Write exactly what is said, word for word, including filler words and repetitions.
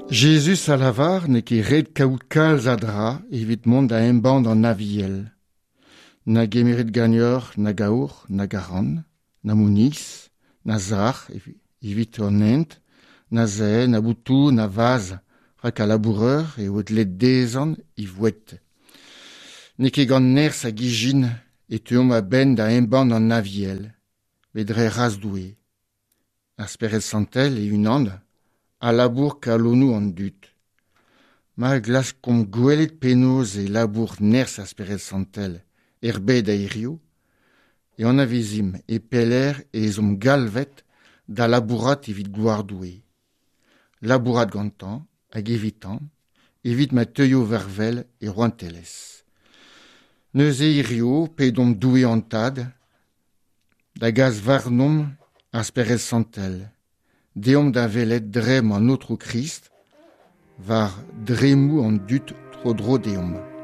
Jezuz a lavar n'eo ket ret kaout kalz a dra evit mont da embann an Aviel. Na gemerit ganeoc'h nag aour, nag arc'hant, na mouneiz, na sac'h evit an hent, na sae, na botoù, na vazh, rak al labourer eo dleet dezhañ e voued. N'eo ket gant nerzh hag ijin e teuomp a-benn da embann an Aviel, met dre c'hras Doue. Ar Spered Santel e-unan a labour kalonoù an dud. Ma glaskomp gwelet penaos e labour nerzh ar Spered Santel er bed a hiziv, e anavezimp e pelec'h ez omp galvet da labourat evit gloar Doue. Labourat gantañ hag evitañ, evit ma teuio war-wel e rouantelezh. Neuze hiziv pedomp Doue an Tad da gas warnomp ar Spered Santel. Deomp da welet dremm an Aotrou Krist war dremmoù an dud tro-dro deomp.